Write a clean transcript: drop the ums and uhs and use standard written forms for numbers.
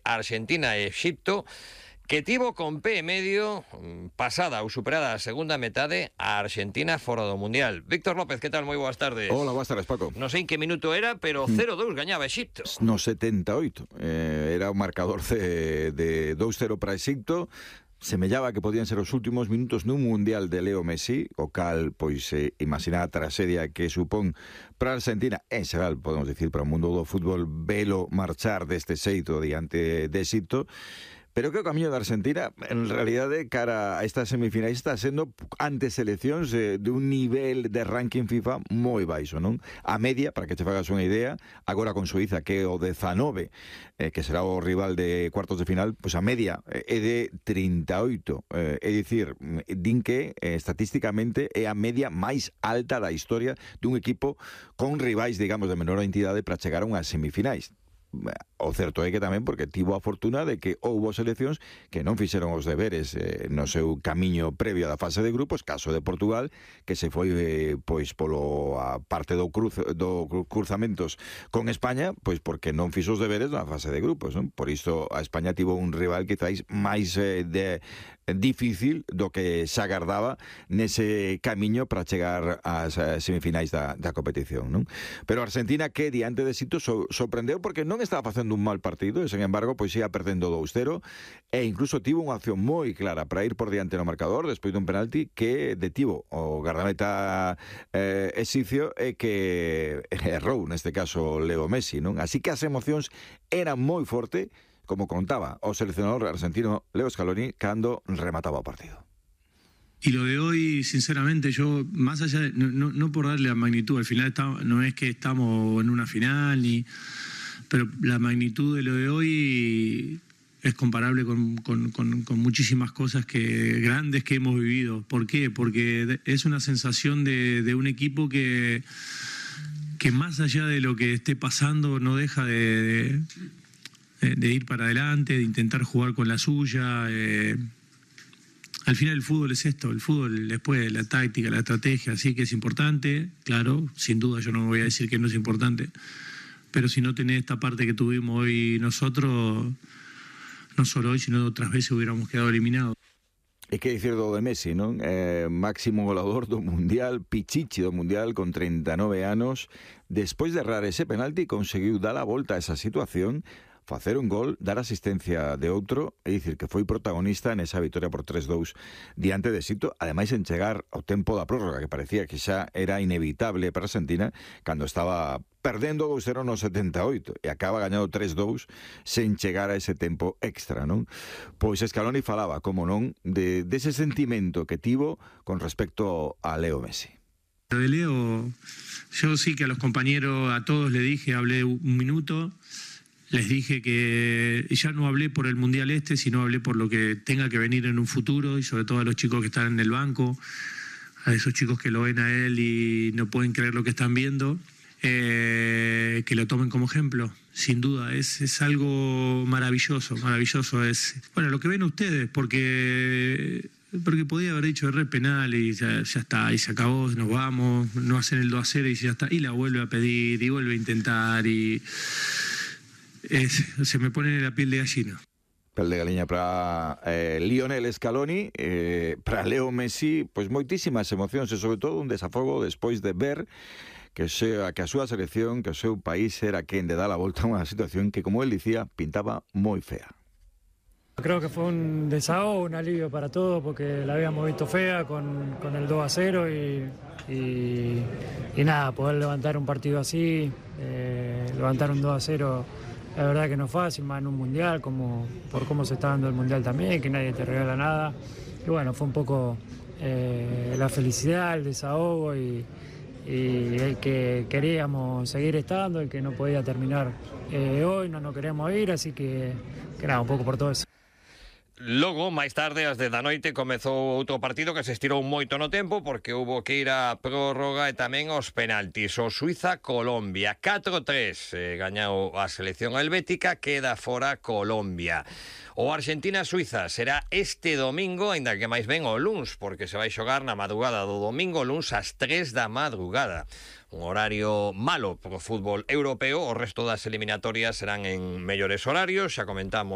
Argentina e Exipto, que tivo con pé e medio pasada ou superada a segunda metade a Argentina fora do Mundial. Víctor López, que tal? Moi boas tardes. Hola, boas tardes, Paco. Non sei en que minuto era, pero 0-2 gañaba Exipto. No 78. Era un marcador de 2-0 para Exipto. Semellaba que podían ser os últimos minutos nun Mundial de Leo Messi, o cal, pois, imaginar a traxedia que supón para a Argentina, en xeral, podemos dicir, para o mundo do fútbol, velo marchar deste xeito diante de Exipto. Pero que o camiño da Argentina, en realidade, cara a estas semifinais, está sendo ante seleccións de un nivel de ranking FIFA moi baixo, non? A media, para que te fagas unha idea, agora con Suiza, que é o 19, que será o rival de cuartos de final, pois a media é de 38. É dicir, din que estatísticamente é a media máis alta da historia dun equipo con rivais, digamos, de menor entidade para chegar a unhas semifinais. O certo é que tamén porque tivo a fortuna de que houbo seleccións que non fixeron os deberes no seu camiño previo da fase de grupos, caso de Portugal, que se foi pois polo a parte do cruzamentos con España, pois porque non fixo os deberes na fase de grupos, non? Por iso a España tivo un rival quizáis máis difícil do que se agardaba nese camiño para chegar ás semifinais da competición, non? Pero a Argentina, que diante de Exipto sorprendeu porque non estaba facendo un mal partido, e sen embargo pois ia perdendo 2-0 e incluso tivo unha opción moi clara para ir por diante no marcador despois dun penalti que detivo o gardameta exipcio e que errou neste caso Leo Messi, non? Así que as emocións eran moi forte, como contaba o seleccionador argentino Leo Scaloni cando remataba o partido. Y lo de hoy, sinceramente, yo, más allá de, no por darle la magnitud, al final no es que estamos en una final, pero la magnitud de lo de hoy es comparable con muchísimas cosas grandes que hemos vivido. ¿Por qué? Porque es una sensación de un equipo que más allá de lo que esté pasando no deja de ir para adelante, de intentar jugar con la suya. Al final el fútbol es esto, el fútbol después la táctica, la estrategia, sí que es importante, claro, sin duda yo no voy a decir que no es importante, pero si no tenés esta parte que tuvimos hoy nosotros, no solo hoy, sino otras veces hubiéramos quedado eliminados. E que dicir do de Messi, non? Máximo goleador do Mundial, pichichi do Mundial con 39 anos, despois de errar ese penalti conseguiu dar a volta a esa situación, facer un gol, dar asistencia de outro, é dicir que foi protagonista nesa vitória por 3-2 diante de Exipto, ademais en chegar ao tempo da prórroga, que parecía que xa era inevitable para Argentina, cando estaba perdendo 2-0 no 78 e acaba gañando 3-2 sen chegar a ese tempo extra, non? Pois Scaloni falaba, como non, dese sentimento que tivo con respecto a Leo Messi. Lo de Leo, yo sí que a los compañeros, a todos le dije, hablé un minuto. Les dije que ya no hablé por el Mundial sino hablé por lo que tenga que venir en un futuro y sobre todo a los chicos que están en el banco, a esos chicos que lo ven a él y no pueden creer lo que están viendo, que lo tomen como ejemplo. Sin duda, es algo maravilloso, es bueno lo que ven ustedes, porque podía haber dicho erré penal y ya está, y se acabó, nos vamos, no hacen el 2-0 y ya está, y la vuelve a pedir y vuelve a intentar y... se me pone la piel de gallina. Pel de galiña para Lionel Scaloni, para Leo Messi, pois moitísimas emocións e sobre todo un desafogo despois de ver que a súa selección, que o seu país era quen de dar a volta a unha situación que, como él dicía, pintaba moi fea. Creo que fue un desahogo, un alivio para todos porque la habíamos visto fea con el 2-0 y nada, poder levantar un partido así, levantar un 2-0, la verdad que no es fácil, más en un mundial, por cómo se está dando el mundial también, que nadie te regala nada. Y bueno, fue un poco la felicidad, el desahogo y el que queríamos seguir estando, el que no podía terminar hoy, no nos queríamos ir, así que nada, un poco por todo eso. Logo, máis tarde, ás 10 da noite, comezou outro partido que se estirou moito no tempo porque houbo que ir a prórroga e tamén aos penaltis. O Suiza-Colombia, 4-3, gañou a selección helvética, queda fora Colombia. O Argentina-Suiza será este domingo, aínda que máis ben o luns, porque se vai xogar na madrugada do domingo, luns ás 3 da madrugada. Un horario malo para o fútbol europeo, o resto das eliminatorias serán en mellores horarios, xa comentamos.